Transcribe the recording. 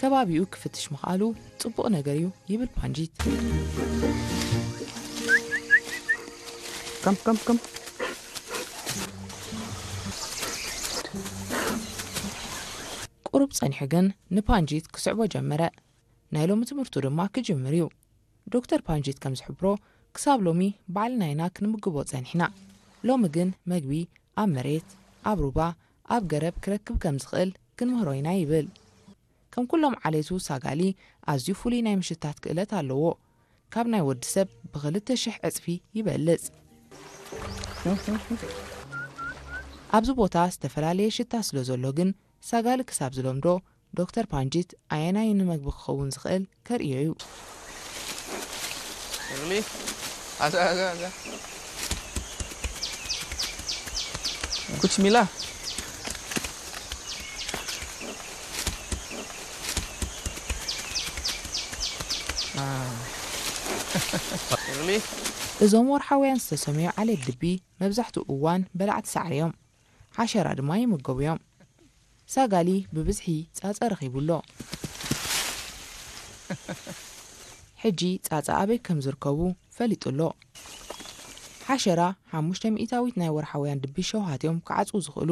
ከባቢኡ ክፍትሽ ምኽኣሉ ጽቡቕ ነገር እዩ ይብል ፓንጂት። ከም ከም ከም ቁሩብ ጸኒሑ ግን ንፓንጂት ክስዕቦ ጀመረ። ናይ ሎሚ ትምህርቱ ድማ ክጅምር እዩ። ዶክተር ፓንጂት ከም ዝሕብሮ፣ ክሳብ ሎሚ ባዕልና ኢና ክንምግቦ ጸኒሕና። ሎሚ ግን መግቢ ኣብ መሬት፣ ኣብ ሩባ፣ ኣብ ገረብ ክረክብ ከም ዝኽእል ክንምህሮ ኢና ይብል። ከም ኩሎም ዓሌቱ፣ ሳጋሊ ኣዝዩ ፍሉይ ናይ ምሽታት ክእለት ኣለዎ። ካብ ናይ ወዲ ሰብ ብኽልተ ሽሕ ዕጽፊ ይበልጽ። ኣብዚ ቦታ ዝተፈላለየ ሽታ ስለ ዘሎ ግን፣ ሳጋሊ ክሳብ ዝለምዶ፣ ዶክተር ፓንጂት ኣየናይ ንመግቢ ክኸውን ዝኽእል ከርእዮ እዩ። Really? Asa, asa, asa. Kuch mila? Ah. Really? እዞም ወርሓውያን ዝተሰምዩ ዓሌት ድቢ መብዛሕትኡ እዋን በላዕቲ ሳዕሪ እዮም። ሓሸራ ድማ ይምገቡ እዮም። ሳጋሊ ብብዝሒ ጻጸ ረኺቡ ኣሎ። ሕጂ ጻጸ ኣበይ ከም ዝርከቡ ፈሊጡ ኣሎ። ሓሸራ ሓሙሽተ ሚእታዊት ናይ ወርሓውያን ድቢ ሸውሃት እዮም ክዓጽዉ ዝኽእሉ።